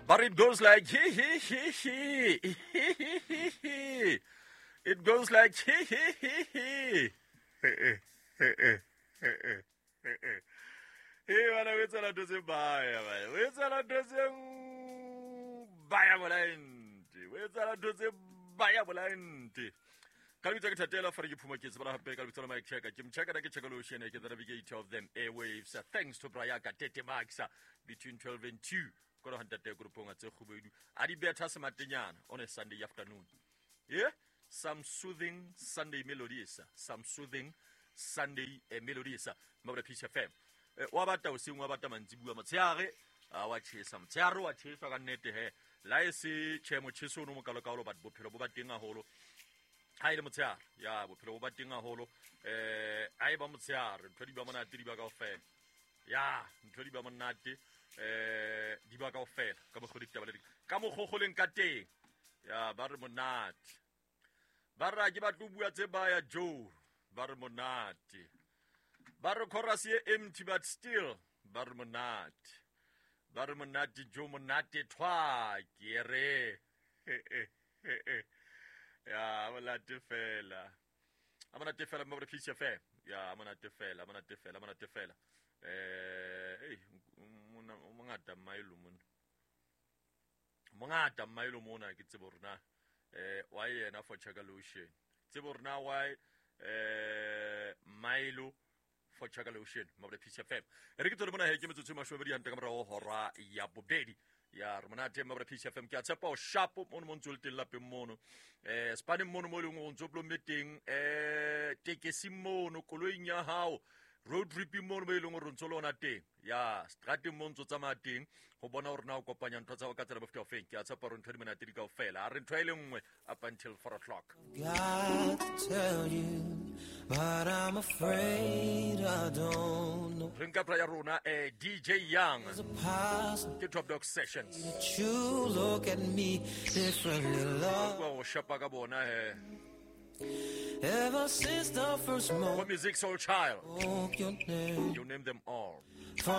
But it goes like he he he he he he he he. It goes like he he he he. Hey, bana o etsahala ntho tse baya bana. O etsahala ntho tse baya bolante. O etsahala ntho tse baya bolante. Ka lebitso ke Thatela Fare ke phuma ke tsebala hape ka lebitso la Mike Checker. Ke mcheka na ke checker lotion ke the navigator of them airwaves. Thanks to Brayaka Tete Maxa between 12 and 2. Koro hantate grupong tse kgubedu. A di betha sematenyana on a Sunday afternoon. Yeah, some soothing Sunday melodies, some soothing Sunday melodies. Mabra Peace FM. Wa bata hoseng, wa bata mantsibuwa, motshehare a wa tjhesa, motshehare wa tjhesa ka nnete he. La e se tjhe motjheso ono mokalokalo, but bophelo bo ba teng haholo. Ha ile motshehare, ya bophelo bo ba teng haholo. Ha e ba motshehare, ntho di ba monate di ba kaofela. Ya, ntho di ba monate di ba kaofela ka mokgwa ditaba le ka mokgokgoleng ka teng. Ya ba re monate. Ba re ke batlo bua tse baya Joe, ba re monate. Ba re chorus ye empty but still ba re monate. Ba re monate Joe monate thwa ke re. Ya monate fela. A monate fela mo re Peace FM. Ya monate fela, monate fela, monate fela. Hey mona o mongata mailo mona. Mongata mailo mona ke tsebo rona. Why yena for Chaka Lotion. Tsebo rona why Milo for Chaka Lotion mo Peace FM. Re ke tsole mona he ke metsotso e 20 ka morao hora ya bobedi. Ya re monate mo Peace FM ke a tshepa o sharp mono mo ntse o le teng lapeng mono. Spaneng mono mo e leng o ntse o plomme teng, tekesing mono, koloing ya hao, road tripping mono mo e leng hore o ntse o le ona teng. Ya strateng mo ntse o tsamaya teng go bona hore na o kopanya ntho tsa hao ka tsela bofuta ofeng. Ke a tshepa hore ntho di monate di kaofela. A re ntho e le nngwe up until 4 o'clock. Got to tell you, but I'm afraid I don't know. Re nka ya rona DJ Young. Is it possible Ke Top Dog Sessions. that you look at me differently, love? Bua go shapa ka bona he. Ever since the first Go moment Music Soul Child. your name. You name them all. From